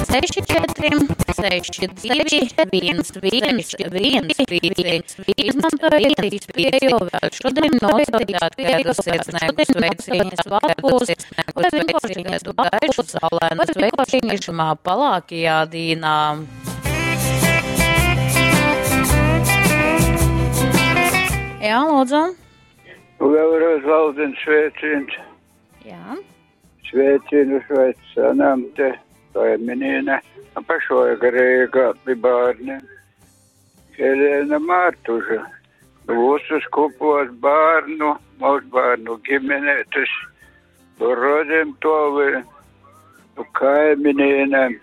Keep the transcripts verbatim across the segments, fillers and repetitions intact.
seši četri, seši divi, viens viens viens pieci. Izmantojiet iespēju vēl šodien nosūtīt kādu sirsnīgu sveicienu svētkos vai vienkārši kādu gaišu saulainu sveicienu šimā palākajā dīnā. Jā, lūdzu. Vēlreiz valdins sveiciens. Jā. Sveicienu sveicinām te kaimiņiene, pašlaik Rīgā pie bērniem. Helēna Mārtuža. Visus kopos bērnu, mazbērnu ģimenētes, rodiem tovi, nu kaimiņienēm,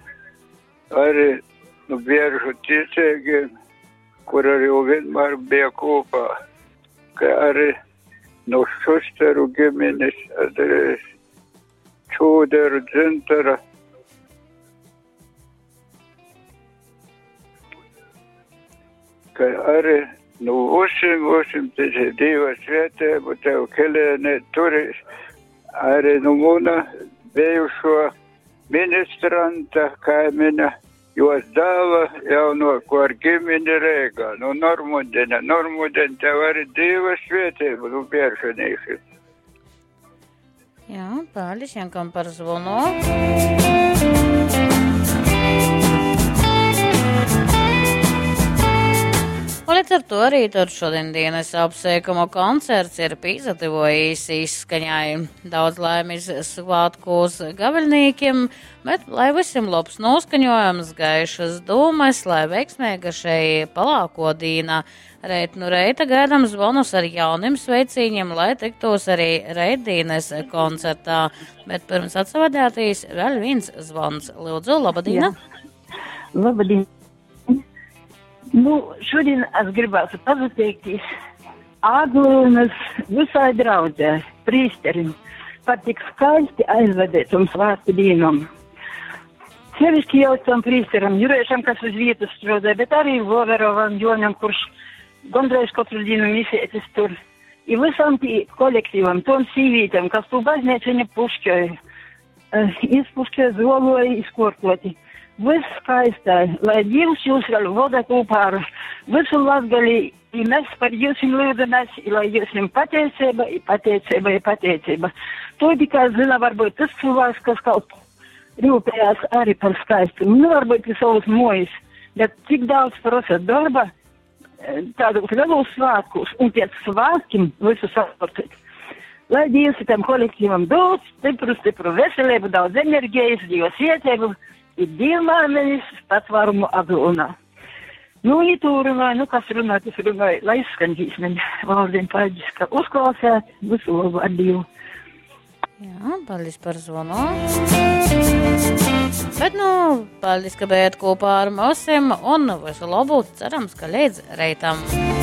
arī nu biežu ticīgiem, kur arī vienmēr bija kopā, ka arī nu Šusteru ģimenes, arī Čūderu dzintara. Ka arī nu visiem, visiem ticīgi Dieva svētību tev, Helēne, turis, arī nu muna bijušo ministranta kaimiņa, jos dēla jaunāko ar ģimeni Rīgā, nu Normundina, Normundina, tev arī Dieva svētību, nu biežanīši. Jā, paldies Jankam par zvonu. Un līdz ar to arī tad šodien dienas apsveikuma koncerts ir pīzativojis izskaņai. Daudz laimes svētkos gaviļnīkiem, bet lai visiem labs noskaņojums, gaišas dūmas, lai veiksmīga šai palāko dīna. Reit nu reita gaidām zvonus ar jauniem sveicīņiem, lai tiktos arī reitdīnes koncertā. Bet pirms atsavadētīs vēl viens zvons. Lūdzu, labadīna! Jā. Labadīna! Nu, šodien es gribētu pateikties Aglonas visai draudzē, prīsterim, par tik skaisti aizvadītum svētku dienam. Sevišķi jau tam prīsteram Jurēšam, kas uz vietas strādāja, bet arī Voverovam Jonam, kurš gondreiz katru dienu misētis tur. I visam tī kolektīvam, tom sīvītēm, kas tu baznīciņu pušķoja, izpušķoja, zoloja, izkortoti. Viss skaistai, lai Dievs jūs vēl voda kopā ar visu Latgali, i mēs par jums lūdzamies, i lai jums pateicība, i pateicība, i pateicība. To tikai zina varbūt tas cilvēks, kas kaut rūpējās arī par skaistumu. Nu, varbūt i savus mojas, bet cik daudz prasa darba tādos lielos svētkos, un pēc svētkiem visu saportēt. Lai Dievs tam kolektīvam dod stipru, stipru veselību, daudz enerģijas, Dieva svētību, i dievmāmenis patvarumu Aglonā. Nu, i tu runāji, nu, kas runā, tas runāja, lai izskan dzīsmeņa. Valdien, paldies, ka uzklausījāt, visu labu ar Dievu. Jā, paldies par zvanu. Bet, nu, paldies, ka bijāt kopā ar mums un visu labu, cerams, ka līdz reitam.